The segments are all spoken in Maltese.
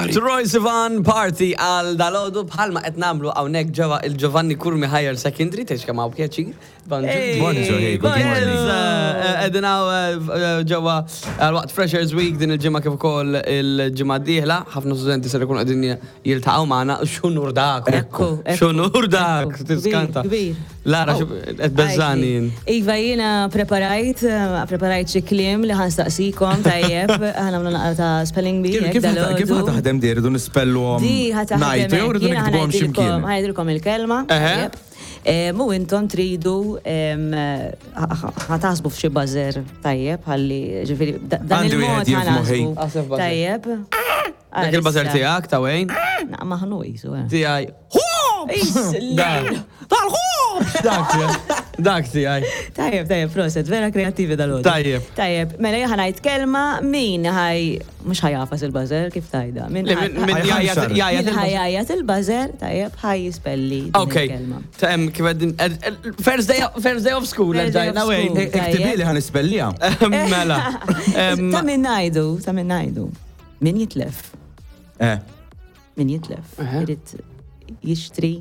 Troye Sivan Party għal dalodu bħalma qed nagħmlu hawnhekk ġewwa il-Giovanni Curmi Higher Secondary, tgħidx kemm hawn pjaċir. Bonġu, hey, good morning. Qegħdin hawn ġewwa għal waqt Freshers Week din il-ġimgħa kif ukoll il-ġimgħa d-dieħla, ħafna studenti ser ikunu qegħdin jiltaqgħu magħna. X'unur dak! Ekku, X'unur dak! Tiskanta. Kbir. Lara, qed beżżani jien. Iva, jiena preparajt, preparajt xi kliem li ħa nsaqsikom tajjeb, ħa nagħmlu naqra ta' spelling bee. Kif kif ħa taħdem di rridu nispelluhom Di ħa taħdem. ngħidu jew rridu Jiena ħa niktbuhom xi ngħidilkom mkien? ħa ngħidilkom il-kelma. Eħe. tajjeb. U intom tridu ħa taħsbu f'xi buzzer tajjeb ħalli ġifieri dan Għandi il-mod wieħed jien ħa f'moħħi. naħsbu. Aħseb buzzer. Tajjeb. Dak il-buzzer tiegħek ta' Wayne? Naqra maħnu qisu. eh. Tiegħi. Dak. Tal-ħobż! Dak tiegħi. Dak tiegħi. Tajjeb, tajjeb, proset, vera kreattivi dal-għodu. Tajjeb. Tajjeb, mela jien ħa ngħid kelma min ħaj, mhux ħa jagħfas il-buzzer, kif tajda? Min Le, min min jgħajjat Ħajħanxar. jgħajjat Min il-buzzer. ħajjajat il-buzzer, tajjeb, ħaj jispelli din Ok. il-kelma. Tem, kif għeddin, first day, first day of school, First day of erġajna school. Wayne. Iktibi li ħa nispellija. Mela. Em, Ta' min ngħidu, ta' min ngħidu. Min jitlef, Eh. min jitlef, Eħe. irid jixtri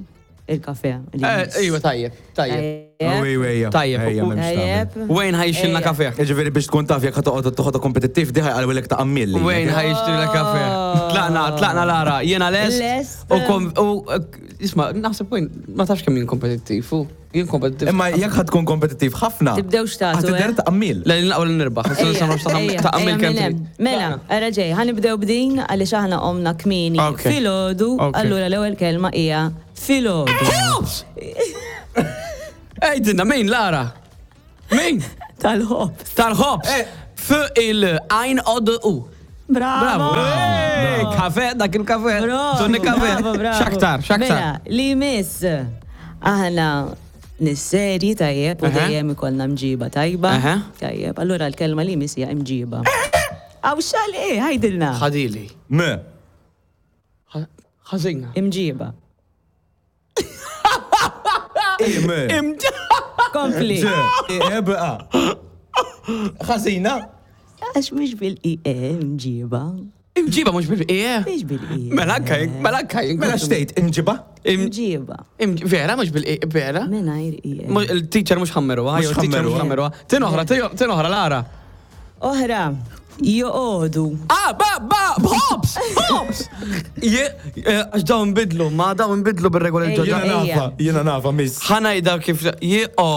il-kafe. li eh, jmiss. Iva, tajjeb, tajjeb. Tajjeb. Ej, ej, Tajjeb. Ejja, m'hemmx tagħmel. Tajjeb. Wayne ħa jixtrilna Ejja. kafe. Ġifieri biex tkun taf jekk ħa toqgħod toħodha kompetittiv di ħa jqalwilek ta' qammilli. Wayne ħa jixtrilna kafe. Tlaqna, tlaqna Lara, jiena lest. Lest. U kom, u, isma, naħseb Wayne, ma tafx kemm jien kompetittiv, u jien kompetittiv. Imma jekk ħa tkun kompetittiv ħafna. Tibdewx tagħtu, Ħa tidher eh? ta' qammil. Le, naqgħu li nirbaħ. Ejja, ejja, Ta' qammil ejja, kemm minn hemm. trid. Mela, ara ġej, ħa nibdew b'din għaliex aħna qomna kmieni Ok. filgħodu, Ok. allura l-ewwel kelma hija filgħodu. Ħobż! Ejdinna, min Lara? Min? Tal-ħobż. Tal-ħobż. F il għajn o d u. Bravo! Bravo. Ej, Kafe, dak il-kafe. Bravo, Tonni kafe. bravo, bravo. Xaktar, xaktar. Mela, li miss, aħna nis-serji tajjeb u Aha. dejjem ikollna mġiba tajba. Aha. Tajjeb, allura l-kelma li miss hija mġiba. Aw xal eh, ħajdilna. Ħadili. M. Ħażina. Imġiba. I M. Kompli. Ġ. I E B A. Ħażina. Għax mhux bil-IE imġiba. Imġiba mhux bil-E. Mhux bil-IE. Mela anka, mela anka. Mela xtejt imġiba? Imġiba. Vera mhux bil-E, vera? Mingħajr IE. Mux- Il-teacher mhux ħammeruha, Mhux jew il-teacher mhux ħammeruha. ħammeruha. Tin oħra, tin oħra Lara. Oħra, joqogħdu. Ah, ba, ba, ħobż, ħobż! Je, eh, għax dawn bidlu, ma dawn bidlu bir-regoli Ejja. ġodda. Jiena nafa, jiena nafa miss. ħanajda kif je o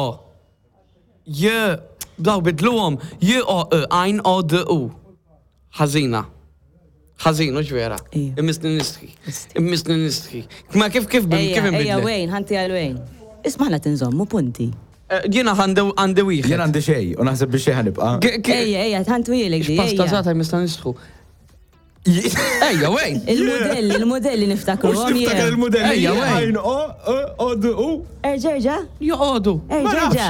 je daw bidluhom je o e għajn o d u. Ħażina. Ħażin, mhux vera. Ija. Immisni nistħi. Immisni nistħi. Ma kif kif kif Ejja, ejja, inbidlet? Wayne, ħanti għal Wayne. Isma' ħna tinżommu punti. Eh, Jiena għandi għandi wieħed. Jien għandi xejn u naħseb biex xejn ħanibqa. Ke- ke- Ejja, ejja, ħantu jilek di. X'pasta ejja. żgħata jmissna nistħu. Ejja, Wayne. Il-modelli, il-modelli niftakru. Mux tiftakar il-modelli. Ejja, wejn. Għajn o, e, o, d, u. Erġa, erġa, Joqogħdu. erġa, erġa.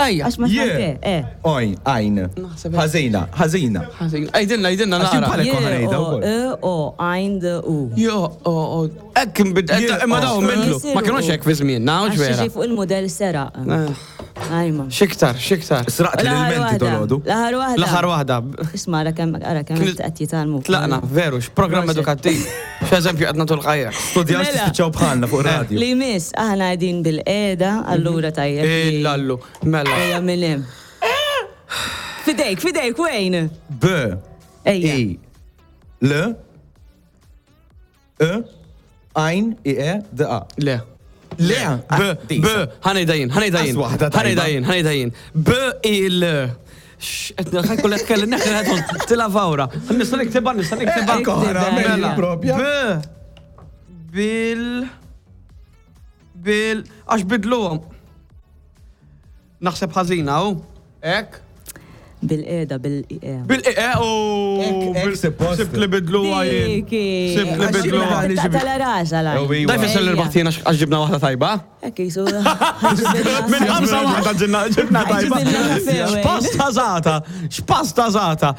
Ejja. Għax ma Je. smajte, eh. Ojn, għajn. Naħseb- Ħażina, ħażina. Ħażin. Ejdilna, ejdilna Għax jien nara. bħalek kont ħanejda O, wkoll. E, O, għajn, D, U. Jo, o, o, ekk imbid, Je, imma dawn o. bidlu. Ma kienux hekk fi żmien, mhux Għax vera. xi fuq il-modell seraq. Eh, Ajma. Xiktar, xiktar. Sraqt l-elementi dolodu. L-aħħar waħda. L-aħħar waħda. Isma' ara kemm ara kemm Kien- qed jitgħallmu. Tlaqna, veru, x'programm Proset. edukattiv. X'eżempju qed nagħtu l-ħajja. Studjaw Mela. tispiċċaw bħalna fuq radio. Li miss, aħna qegħdin bil-qeda, allura tajjeb. li- Illallu, mela. Ejja minn hemm. Fidejk, fidejk, Wayne. B, Ejja. I, L, E, Għajn, I, E, D, A. Le. Le, B, B, ħanejda jien, ħanejda jien. As waħda tajba. Ħanejda jien, ħanejda jien. B, I, L. Ħajkoll tkellem neħli ħedhom tila fawra. Nista' niktibha, nista' niktibha. Ekk oħra, Mela. propja. B. Bil. Bil. Għax bidluhom. Naħseb ħażina, u? Ek? Bil-qeda, bil-E. Bil-e, u. Ek, ek, suppost. Sibt li bidluha jien. Diki. Sibt li Għax bidluha. jien- Tala rasa la. Oh, iwa. Da jfisser li rbaħt jiena għax ġibna waħda tajba. Ekk jisu. Minn ħamsa waħda ġibna ġibna tajba. Ġibna kafe, X'pasta żata, x'pasta żata.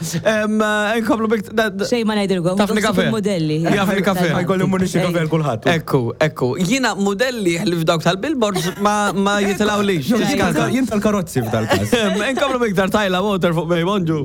Inkomplu bik. Xej ma ngħidilkom. Tafni kafe. Modelli. Jafni kafe. Ħajkolli munixi kafe l-kulħadd. Ekku, ekku. Jiena modelli ħlif dawk tal-billboards ma ma jitilawlix. Jien tal-karozzi f'dal-każ. Inkomplu biktar Tyla Water fuq Bej Bonġu.